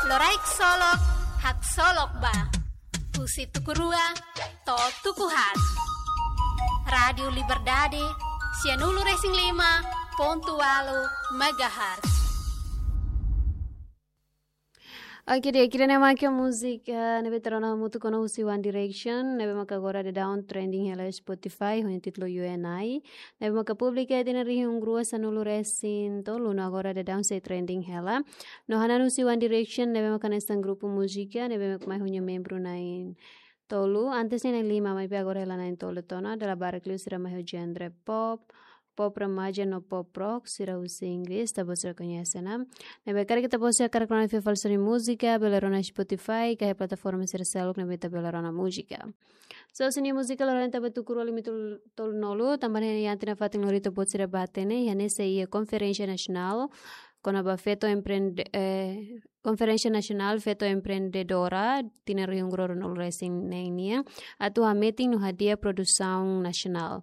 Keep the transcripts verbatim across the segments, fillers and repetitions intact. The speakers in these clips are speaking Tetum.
Loraik solok, haksolok ba. Husi tuku rua to'o tuku haat. Rádiu Liberdade, sianulu-resin-lima pontu ualu megahertz. Oke, di'ak, ida-ne'e mak múzika ne'ebé ita rona hamutuk ona husi One Direction, ne'ebé maka agora daudaun trending hela Spotify, ho nia títulu You and I. Ne'ebé maka publika iha tinan rihun rua sanulu-resin-tolu, no agora daudaun sei trending hela. No hanesan husi One Direction, ne'ebé maka hanesan grupu múzika ne'ebé maka mai ho nia membru na'in tolu, antes ne'e na'in lima, maibé agora hela na'in tolu tiha ona, dala barak liu sira mai ho genre pop, pop remaja no pop rock, sira husi Inglés, ita-boot sira koñese ona. Ne'ebé karik ita-boot sira hakarak rona fila fali sira-nia múzika, bele rona Spotify, ka iha plataforma sira seluk ne'ebé ita bele rona múzika. So, husi nia múzika loron ida ita bá tuku rua lima tolu, tolunulu, tanba ne'e iha tinan fatin lori ita-boot sira bá hatene, iha ne'e sei iha konferénsia nasionál kona-ba feto empreende-, eh, Konferénsia Nasionál Feto Empreendedora, tinan rihun rua ruanulu-resin-neen nian, atu hametin no hadi'a produsaun nasionál.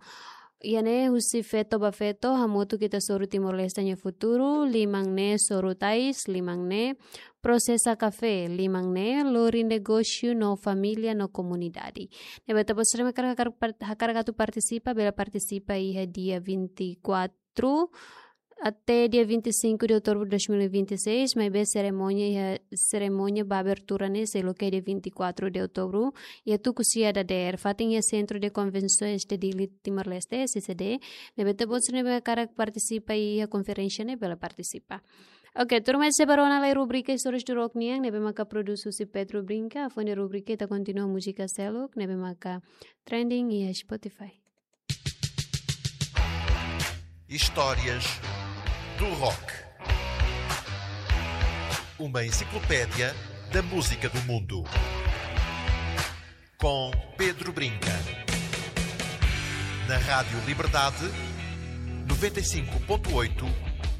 Iha ne'e husi feto ba feto, hamutuk ita hasoru Timor-Leste nia futuru, liman ne'e soru tais, liman ne'e prosesa kafé, liman ne'e lori negósiu no família no komunidade. Ne'ebé ita-boot sira ne'ebé hakarak, hakarak par-, hakarak atu partisipa, bele partisipa iha dia vinte e quatro até dia vinte e cinco de outubro de dois mil e vinte e seis, maibé serimónia iha, serimónia ba abertura ne'e sei loke dia vinte e quatro de outubro, iha tuku sia dadeer, fatin iha Centro de Convenções de Dili Timor-Leste, C C D, ne'ebé ita-boot sira ne'ebé hakarak partisipa iha konferénsia ne'e bele partisipa. Oke, tuirmai ita sei bá rona lai rubrika Histórias do Rock nian, ne'ebé maka produs husi Pedro Brinca, hafoin rubrika ita kontinua múzika seluk, ne'ebé maka trending iha Spotify. Histórias do Rock. Uma enciclopédia da música do mundo. Com Pedro Brinca. Na Rádio Liberdade, noventa e cinco ponto oito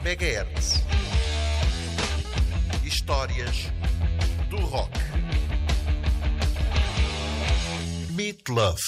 megahertz. Histórias do Rock. Meat Loaf.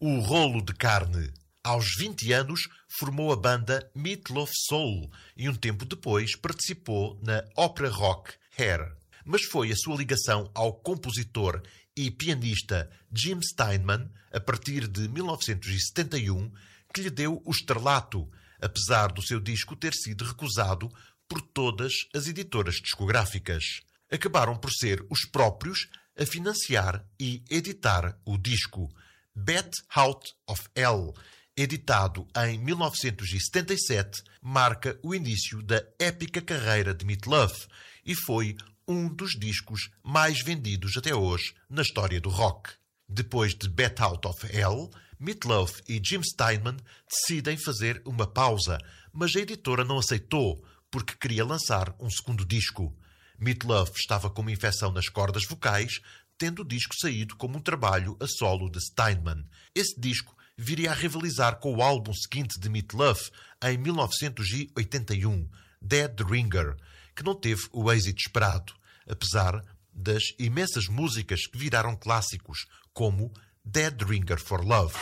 O rolo de carne. Aos vinte anos, formou a banda Meat Loaf Soul e, um tempo depois, participou na ópera rock Hair. Mas foi a sua ligação ao compositor e pianista Jim Steinman, a partir de mil novecentos e setenta e um, que lhe deu o estrelato, apesar do seu disco ter sido recusado por todas as editoras discográficas. Acabaram por ser os próprios a financiar e editar o disco. Bat Out of Hell, editado em mil novecentos e setenta e sete, marca o início da épica carreira de Meat Loaf e foi um dos discos mais vendidos até hoje na história do rock. Depois de Bat Out of Hell, Meat Loaf e Jim Steinman decidem fazer uma pausa, mas a editora não aceitou porque queria lançar um segundo disco. Meat Loaf estava com uma infecção nas cordas vocais, tendo o disco saído como um trabalho a solo de Steinman. Esse disco viria a rivalizar com o álbum seguinte de Meat Loaf, em mil novecentos e oitenta e um, Dead Ringer, que não teve o êxito esperado, apesar das imensas músicas que viraram clássicos, como Dead Ringer for Love.